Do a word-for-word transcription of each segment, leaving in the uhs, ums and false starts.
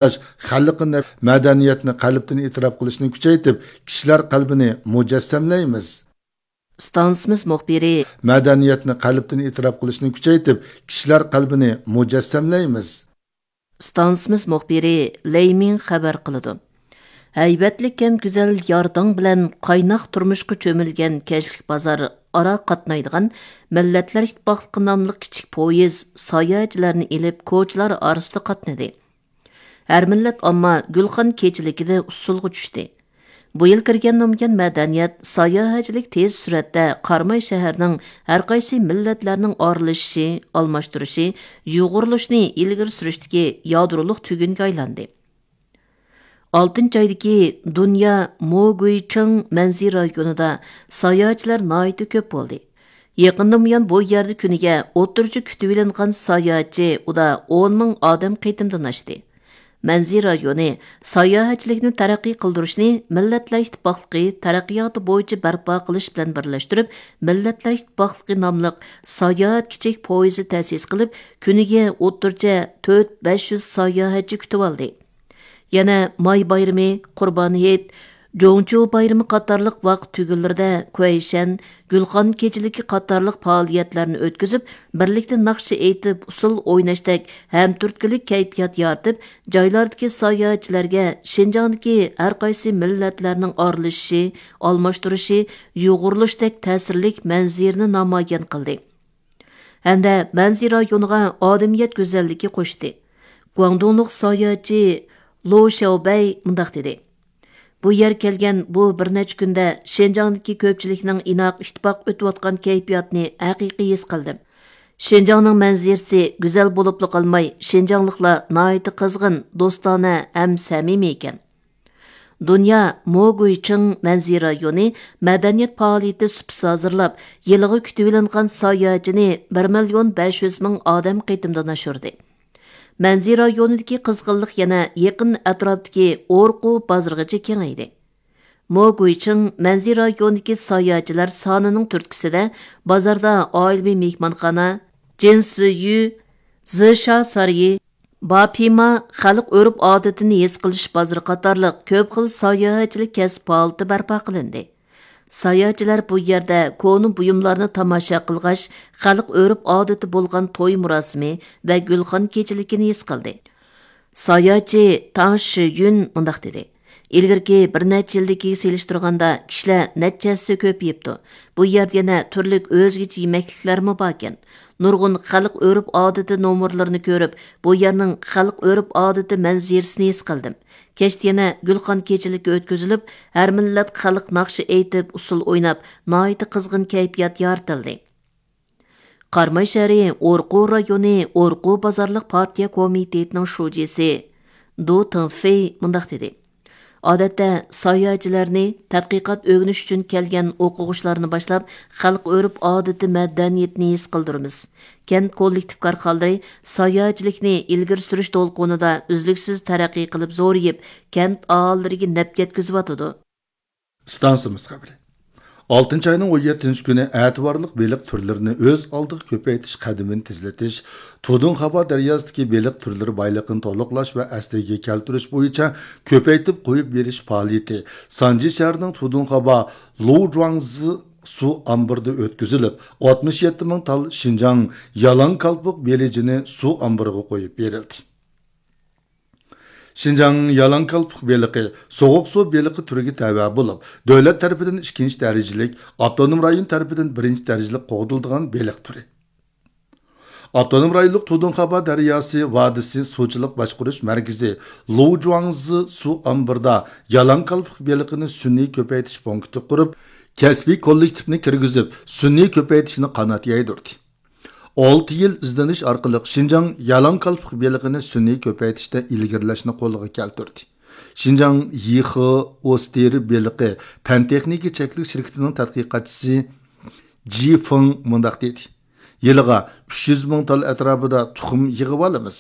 خەلقنى، مەدەنىيەتنى قەلبتىن ئېتىراپ قىلىشنى كۈچەيتىپ، كىشىلەر قەلبىنى مۇجەسسەملەيمىز. ئىستانسىمىز مۇخبىرى. مەدەنىيەتنى قەلبتىن ئېتىراپ قىلىشنى كۈچەيتىپ، كىشىلەر قەلبىنى مۇجەسسەملەيمىز. ئىستانسىمىز مۇخبىرى لەي مىڭ خەۋەر قىلىدۇ. ھەيۋەتلىك ھەم گۈزەل يارىتىڭ بىلەن قايناق تۇرمۇشقا چۆمۈلگەن كەچلىك بازار ئارا قاتنايدىغان مىللەتلەر ئىتتىپاقلىقى ناملىق كىچىك پويىز ساياھەتچىلەرنى ئېلىپ كوچىلار ئارىسىدا قاتنىدى. ھەر مىللەت ئامما گۈلخان كېچىلىكىدە ئۇسسۇلغا چۈشتى. بۇ يىل كىرگەن نامىيان مەدەنىيەت، ساياھەتچىلىك تېز سۈرئەتتە قاراماي شەھەرنىڭ ھەر قايسى مىللەتلەرنىڭ ئارىلىشىشى، ئالماشتۇرۇشى، يۇغۇرۇلۇشىنى ئىلگىرى سۈرۈشتىكى يادرولۇق تۈگۈنگە ئايلاندى. ئالتىنچى ئايدىكى دۇنيا موگۇيچىڭ مەنزىرە رايونىدا ساياھەتچىلەر ناھايىتى كۆپ بولدى. يېقىندىن بۇيان بۇ يەردە كۈنىگە ئوتتۇرىچە كۈتۈۋېلىنغان ساياھەتچى ئۇدا ئون مىڭ ئادەم قېتىمدىن ئاشتى. مەنزىرە رايونى ساياھەتچىلىكنى تەرەققىي قىلدۇرۇشنى مىللەتلەر ئىتتىپاقلىقى تەرەققىياتى بويىچە بەرپا قىلىش بىلەن بىرلەشتۈرۈپ، مىللەتلەر ئىتتىپاقلىقى ناملىق ساياھەت كىچىك پويىزى تەسىس قىلىپ، كۈنىگە ئوتتۇرىچە تۆت بەش يۈز ساياھەتچى كۈتۈۋالدى. يەنە ماي بايرىمى، قۇربان ھېيت، جوڭچۇ بايرىمى قاتارلىق ۋاقىت تۈگۈنلىرىدە كۇەيشەن، گۈلخان كېچىلىكى قاتارلىق پائالىيەتلەرنى ئۆتكۈزۈپ، بىرلىكتە ناخشا ئېيتىپ، ئۇسسۇل ئويناشتەك ھەمتۈرتكىلىك كەيپىيات يارىتىپ، جايلاردىكى ساياھەتچىلەرگە شىنجاڭدىكى ھەر قايسى مىللەتلەرنىڭ ئارىلىشىشى، ئالماشتۇرۇشى، يۇغۇرۇلۇشتەك تەسىرلىك مەنزىرىنى نامايان قىلدى. ھەمدە مەنزىرە رايونىغا ئادەمىيەت گۈزەللىكى قوشتى. گۇاڭدۇڭلۇق ساياھەتچى لو شياۋبەي مۇنداق دېدى: بۇ يەرگە كەلگەن بۇ بىر نەچچە كۈندە شىنجاڭدىكى كۆپچىلىكنىڭ ئىناق، ئىتتىپاق ئۆتۈۋاتقان كەيپىياتىنى ھەقىقىي ھېس قىلدىم. شىنجاڭنىڭ مەنزىرىسى گۈزەل بولۇپلا قالماي، شىنجاڭلىقلار ناھايىتى قىزغىن، دوستانە ھەم سەمىمىي ئىكەن. دۇنيا موگۇيچىڭ مەنزىرە رايونى مەدەنىيەت پائالىيىتى سۇپىسى ھازىرلاپ، يىلىغا كۈتۈۋېلىنغان ساياھەتچىنى بىر مىليون بەش يۈز مىڭ ئادەم قېتىمدىن ئاشۇردى. مەنزىرە رايونىدىكى قىزغىنلىق يەنە يېقىن ئەتراپتىكى ئورقۇ بازىرىغىچە كېڭەيدى. موگۇيچىڭ مەنزىرە رايونىدىكى ساياھەتچىلەر سانىنىڭ تۈرتكىسىدە بازاردا ئائىلىۋى مېھمانخانا، جىنسىيۈ، زىشا سارىيى، باپىما خەلق ئۆرپ-ئادىتىنى ھېس قىلىش بازىرى قاتارلىق كۆپ خىل ساياھەتچىلىك كەسىپ پائالىيىتى بەرپا قىلىندى. ساياھەتچىلەر بۇ يەردە كونا بۇيۇملارنى تاماشا قىلغاچ، خەلق ئۆرپ-ئادىتى بولغان توي مۇراسىمى ۋە گۈلخان كېچىلىكىنى ھېس قىلدى. ساياھەتچى تاڭ شىيۈن مۇنداق دېدى: ئىلگىرىكى بىر نەچچە يىلدىكىگە سېلىشتۇرغاندا، كىشىلەر نەچچە ھەسسە كۆپىيىپتۇ. بۇ يەردە يەنە تۈرلۈك ئۆزگىچە يېمەكلىكلەرمۇ باركەن. نۇرغۇن خەلق ئۆرپ-ئادىتى نومۇرلىرىنى كۆرۈپ، بۇ يەرنىڭ خەلق ئۆرپ-ئادىتى مەنزىرىسىنى ھېس قىلدىم. كەچتە يەنە گۈلخان كېچىلىكى ئۆتكۈزۈلۈپ، ھەر مىللەت خەلق ناخشا ئېيتىپ، ئۇسسۇل ئويناپ، ناھايىتى قىزغىن كەيپىيات يارىتىلدى. قاراماي شەھىرى ئورقۇ رايونى ئورقۇ بازارلىق پارتىيە كومىتېتىنىڭ شۇجىسى دۇ تىڭفېي مۇنداق دېدى: ئادەتتە ساياھەتچىلەرنى تەتقىقات ئۆگىنىش ئۈچۈن كەلگەن ئوقۇغۇچىلاردىن باشلاپ، خەلق ئۆرپ-ئادىتى مەدەنىيىتىنى ھېس قىلدۇرىمىز. كەنت كوللېكتىپ كارخانىلىرى ساياھەتچىلىكنى ئىلگىرى سۈرۈش دولقۇنىدا ئۈزلۈكسىز تەرەققىي قىلىپ زورىيىپ، كەنت ئاھالىلىرىگە نەپ يەتكۈزۈۋاتىدۇ. ئىستانسىمىز خەۋىرى. ئالتىنچى ئاينىڭ ئون يەتتىنچى كۈنى ئەتىۋارلىق بېلىق تۈرلىرىنى ئۆز ئالدىغا كۆپەيتىش قەدىمىنى تېزلىتىش، تۇدۇڭخابا دەرياسىدىكى بېلىق تۈرلىرى بايلىقىنى تولۇقلاش ۋە ئەسلىگە كەلتۈرۈش بويىچە كۆپەيتىپ قويۇپ بېرىش پائالىيىتى سانجى شەھىرىنىڭ تۇدۇڭخابا لۇجۇاڭزى سۇ ئامبىرىدا ئۆتكۈزۈلۈپ، ئاتمىش يەتتە مىڭ تال شىنجاڭ يالاڭ كالپۇك بېلىجىنى سۇ ئامبىرىغا قويۇپ بېرىلدى. شىنجاڭ يالاڭ كالپۇك بېلىقى سوغۇق سۇ بېلىقى تۈرىگە تەۋە بولۇپ، دۆلەت تەرىپىدىن ئىككىنچى دەرىجىلىك، ئاپتونوم رايون تەرىپىدىن بىرىنچى دەرىجىلىك قوغدىلىدىغان بېلىق تۈرى. ئاپتونوم رايونلۇق تۇدۇڭخابا دەرياسى ۋادىسى سۇچىلىق باشقۇرۇش مەركىزى لۇجۇاڭزى سۇ ئامبىرىدا يالاڭ كالپۇك بېلىقىنى سۈنئىي كۆپەيتىش پونكىتى قۇرۇپ، كەسپىي كوللېكتىپنى كىرگۈزۈپ، سۈنئىي كۆپەيتىشنى قانات يايدۇردى. ئالتە يىل ئىزدىنىش ئارقىلىق شىنجاڭ يالاڭ كالپۇك بېلىقىنى سۈنئىي كۆپەيتىشتە ئىلگىرىلەشنى قولغا كەلتۈردى. شىنجاڭ يىخې ئوستېرى بېلىقى پەن تېخنىكا چەكلىك شىركىتىنىڭ تەتقىقاتچىسى جى فېڭ مۇنداق دېدى: يىلىغا ئۈچ يۈز مىڭ تال ئەتراپىدا تۇخۇم يىغىۋالىمىز.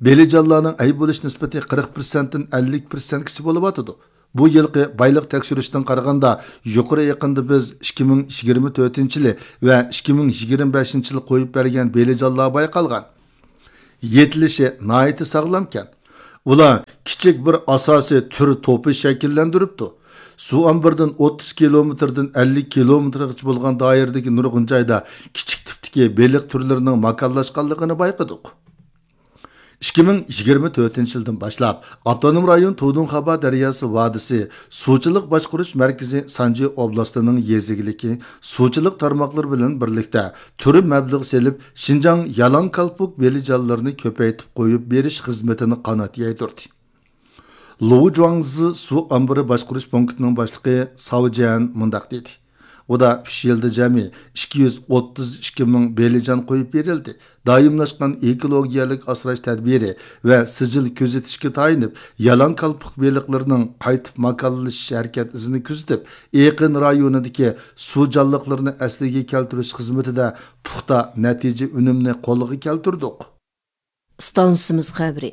بېلىجانلارنىڭ ئەي بولۇش نىسبىتى قىرىق پىرسەنتتىن ئەللىك پىرسەنتكىچە بولۇۋاتىدۇ. بۇ يىلقى بايلىق تەكشۈرۈشتىن قارىغاندا، يۇقىرى ئېقىندا بىز ئىككى مىڭ يىگىرمە تۆتىنچى يىلى ۋە ئىككى مىڭ يىگىرمە بەشىنچى يىلى قويۇپ بەرگەن بېلىجانلار بايقالغان. يېتىلىشى ناھايىتى ساغلامكەن. ئۇلار كىچىك بىر ئاساسىي تۈر توپى شەكىللەندۈرۈپتۇ. سۇ ئامبىرىدىن ئوتتۇز كىلومېتىردىن ئەللىك كىلومېتىرغىچە بولغان دائىرىدىكى نۇرغۇن جايدا كىچىك تىپتىكى بېلىق تۈرلىرىنىڭ ماكانلاشقانلىقىنى بايقىدۇق. ئىككى مىڭ يىگىرمە تۆتىنچى يىلدىن باشلاپ، ئاپتونوم رايون تۇدۇڭخابا دەرياسى ۋادىسى سۇچىلىق باشقۇرۇش مەركىزى سانجى ئوبلاستىنىڭ يېزا ئىگىلىكى سۇچىلىق تارماقلىرى بىلەن بىرلىكتە تۈر مەبلەغ سېلىپ، شىنجاڭ يالاڭ كالپۇك بېلىجانلىرىنى كۆپەيتىپ قويۇپ بېرىش خىزمىتىنى قانات يايدۇردى. لۇ جۇاڭزى سۇ ئامبىرى باشقۇرۇش پونكىتىنىڭ باشلىقى ساۋ جيەن مۇنداق دېدى: ئۇدا ئۈچ يىلدا جەمئىي ئىككى يۈز ئوتتۇز ئىككى مىڭ بېلىجان قويۇپ بېرىلدى. دائىملاشقان ئېكولوگىيەلىك ئاسراش تەدبىرى ۋە سىجىل كۆزىتىشكە تايىنىپ، يالاڭ كالپۇك بېلىقلىرىنىڭ قايتىپ ماكانلىشىش ھەرىكەت ئىزىنى كۆزىتىپ، ئېقىن رايونىدىكى سۇ جانلىقلىرىنى ئەسلىگە كەلتۈرۈش خىزمىتىدە پۇختا نەتىجە ئۈنۈمنى قولغا كەلتۈردۇق. ئىستانسىمىز خەۋىرى.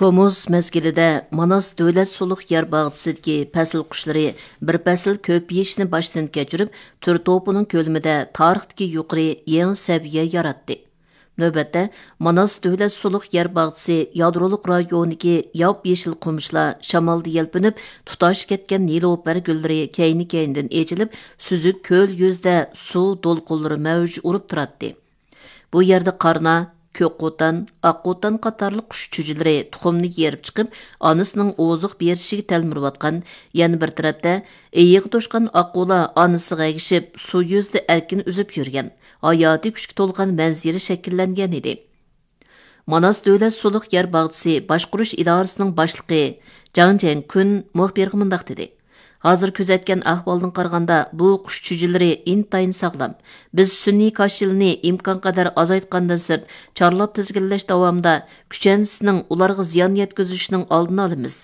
تومۇز مەزگىلىدە ماناس دۆلەت سۇلۇق يەر باغچىسىدىكى پەسىل قۇشلىرى بىر پەسىل كۆپىيىشنى باشتىن كەچۈرۈپ، تۈر توپىنىڭ كۆلىمىدە تارىختىكى يۇقىرى يېڭى سەۋىيە ياراتتى. نۆۋەتتە، ماناس دۆلەت سۇلۇق يەر باغچىسى يادرولۇق رايونىدىكى ياپيېشىل قومۇشلار شامالدا يەلپۈنۈپ، تۇتاش كەتكەن نېلۇپەر گۈللىرى كەينى-كەينىدىن ئېچىلىپ، سۈزۈك كۆل يۈزىدە سۇ دولقۇنلىرى مەۋج ئۇرۇپ تۇراتتى. بۇ يەردە قارنا، كۆك قوتان، ئاق قوتان قاتارلىق قۇش چۈجىلىرى تۇخۇمنى يېرىپ چىقىپ، ئانىسىنىڭ ئوزۇق بېرىشىگە تەلمۈرۈۋاتقان، يەنە بىر تەرەپتە ئېيىغا توشقان ئاققۇلار ئانىسىغا ئەگىشىپ، سۇ يۈزىدە ئەركىن ئۈزۈپ يۈرگەن ھاياتىي كۈچكە تولغان مەنزىرە شەكىللەنگەن ئىدى. ماناس دۆلەت سۇلۇق يەر باغچىسى باشقۇرۇش ئىدارىسىنىڭ باشلىقى جاڭ جيەنكۈن مۇخبىرغا مۇنداق دېدى: ھازىر كۆزەتكەن ئەھۋالدىن قارىغاندا، بۇ قۇش چۈجىلىرى ئىنتايىن ساغلام. بىز سۈنئىي كاش يىلىنى ئىمكانقەدەر ئازايتقاندىن سىرت، چارلاپ تىزگىنلەش داۋامىدا كۈچەنسىنىڭ ئۇلارغا زىيان يەتكۈزۈشىنىڭ ئالدىنى ئالىمىز.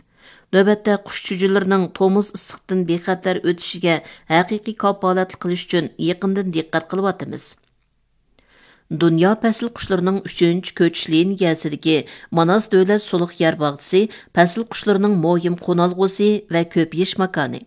نۆۋەتتە قۇش چۈجىلىرىنىڭ تومۇز ئىسسىقتىن بىخەتەر ئۆتۈشىگە ھەقىقىي كاپالەتلىك قىلىش ئۈچۈن يېقىندىن دىققەت قىلىۋاتىمىز. دۇنيا پەسىل قۇشلىرىنىڭ ئۈچىنچى كۆچۈش لىنىيەسىدىكى ماناس دۆلەت سۇلۇق يەر باغچىسى پەسىل قۇشلىرىنىڭ مۇھىم قونالغۇسى ۋە كۆپىيىش ماكانى.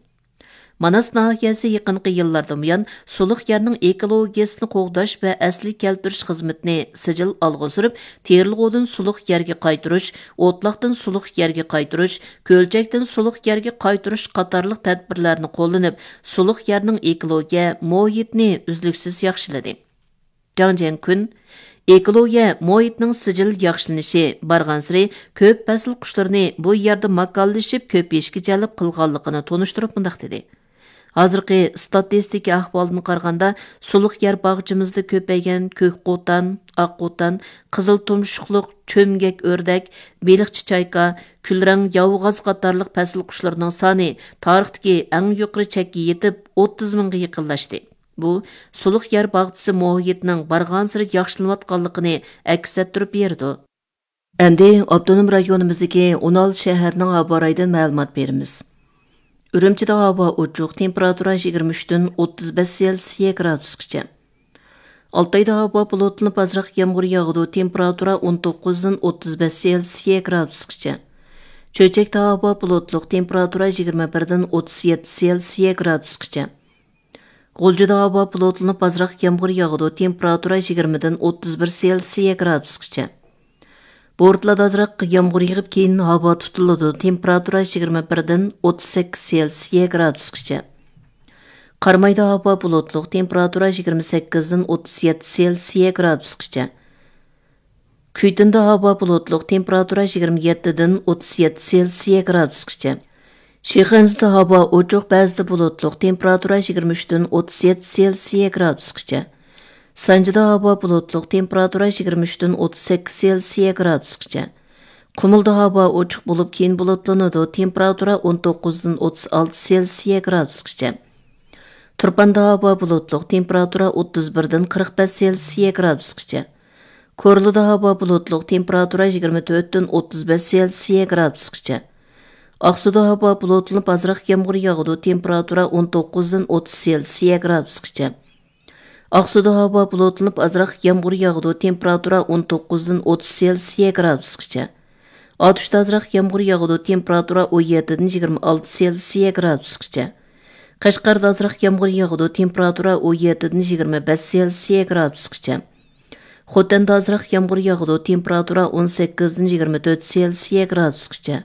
ماناس ناھىيەسى يېقىنقى يىللاردىن بۇيان سۇلۇق يەرنىڭ ئېكولوگىيەسىنى قوغداش ۋە ئەسلىگە كەلتۈرۈش خىزمىتىنى سىجىل ئالغا سۈرۈپ، تېرىلغۇدىن سۇلۇق يەرگە قايتۇرۇش، ئوتلاقتىن سۇلۇق يەرگە قايتۇرۇش، كۆلچەكتىن سۇلۇق يەرگە قايتۇرۇش قاتارلىق تەدبىرلەرنى قوللىنىپ، سۇلۇق يەرنىڭ ئېكولوگىيە مۇھىتىنى ئۈزلۈكسىز ياخشىلىدى. جاڭ جيەنكۈن ئېكولوگىيە مۇھىتنىڭ سىجىل ياخشىلىنىشى بارغانسېرى كۆپ پەسىل قۇشلىرىنى بۇ يەردە ماكانلىشىپ كۆپىيىشكە جەلپ قىلغانلىقىنى تونۇشتۇرۇپ مۇنداق دېدى: ھازىرقى ئىستاتىستىكا ئەھۋالىدىن قارىغاندا، سۇلۇق يەر باغچىمىزدا كۆپەيگەن كۆك قوتان، ئاق قوتان، قىزىل تۇمشۇقلۇق چۆمگەك ئۆردەك، بېلىقچى چايكا، كۈلرەڭ ياۋىغاز قاتارلىق پەسىل قۇشلىرىنىڭ سانى تارىختىكى ئەڭ يۇقىرى چەككە يېتىپ، ئوتتۇز مىڭغا يېقىنلاشتى. بۇ، سۇلۇق يەر باغچىسى مۇھىتىنىڭ بارغانسېرى ياخشىلىنىۋاتقانلىقىنى ئەكس ئەتتۈرۈپ بېرىدۇ. ئەمدى ئاپتونوم رايونىمىزدىكى ئون ئالتە شەھەرنىڭ ھاۋا رايىدىن مەلۇمات بېرىمىز. ئۈرۈمچىدە ھاۋا ئوچۇق، تېمپېراتۇرا يىگىرمە ئۈچتىن ئوتتۇز بەش سېلسىيە گرادۇسقىچە. ئالتايدا ھاۋا بۇلۇتلىنىپ، ئازراق يامغۇر ياغىدۇ، تېمپېراتۇرا ئون توققۇزدىن ئوتتۇز بەش سېلسىيە گرادۇسقىچە. چۆچەكتە ھاۋا بۇلۇتلۇق، تېمپېراتۇرا يىگىرمە بىردىن ئوتتۇز يەتتە سېلسىيە گرادۇسقىچە. غۇلجىدا ھاۋا بۇلۇتلىنىپ، ئازراق يامغۇر ياغىدۇ، تېمپېراتۇرا يىگىرمىدىن ئوتتۇز بىر سېلسىيە گرادۇسقىچە. بورتلادا ئازراق يامغۇر يېغىپ، كېيىن ھاۋا تۇتۇلىدۇ، تېمپېراتۇرا يىگىرمە بىردىن ئوتتۇز سەككىز سېلسىيە گرادۇسقىچە. قارامايدا ھاۋا بۇلۇتلۇق، تېمپېراتۇرا يىگىرمە سەككىزدىن ئوتتۇز يەتتە سېلسىيە گرادۇسقىچە. كۈيتۇندا ھاۋا بۇلۇتلۇق، تېمپېراتۇرا يىگىرمە يەتتىدىن ئوتتۇز يەتتە سېلسىيە گرادۇسقىچە. شىخەنزىدە ھاۋا ئوچۇق، بەزىدە بۇلۇتلۇق، تېمپېراتۇرا يىگىرمە ئۈچتىن ئوتتۇز يەتتە سېلسىيە گرادۇسقىچە. سانجىدا ھاۋا بۇلۇتلۇق، تېمپېراتۇرا يىگىرمە ئۈچتىن ئوتتۇز سەككىز سېلسىيە گرادۇسقىچە. قۇمۇلدا ھاۋا ئوچۇق بولۇپ، كېيىن بۇلۇتلىنىدۇ، تېمپېراتۇرا ئون توققۇزدىن ئوتتۇز ئالتە سېلسىيە گرادۇسقىچە. تۇرپاندا ھاۋا بۇلۇتلۇق، تېمپېراتۇرا ئوتتۇز بىردىن قىرىق بەش سېلسىيە گرادۇسقىچە. كورلىدا ھاۋا بۇلۇتلۇق، تېمپېراتۇرا يىگىرمە تۆتتىن ئوتتۇز بەش سېلسىيە گرادۇسقىچە. ئاقسۇدا ھاۋا بۇلۇتلىنىپ، ئازراق يامغۇر ياغىدۇ، تېمپېراتۇرا ئون توققۇزدىن ئوتتۇز سېلسىيە گرادۇسقىچە. ئاقسۇدا ھاۋا بۇلۇتلىنىپ، ئازراق يامغۇر ياغىدۇ، تېمپېراتۇرا ئون توققۇزدىن ئوتتۇز سېلسىيە گرادۇسقىچە. ئاتۇشتا ئازراق يامغۇر ياغىدۇ، تېمپېراتۇرا ئون يەتتىدىن يىگىرمە ئالتە سېلسىيە گرادۇسقىچە. قەشقەردە ئازراق يامغۇر ياغىدۇ، تېمپېراتۇرا ئون يەتتىدىن يىگىرمە بەش سېلسىيە گرادۇسقىچە. خوتەندە ئازراق يامغۇر ياغىدۇ، تېمپېراتۇرا ئون سەككىزدىن يىگىرمە تۆت سېلسىيە گرادۇسقىچە.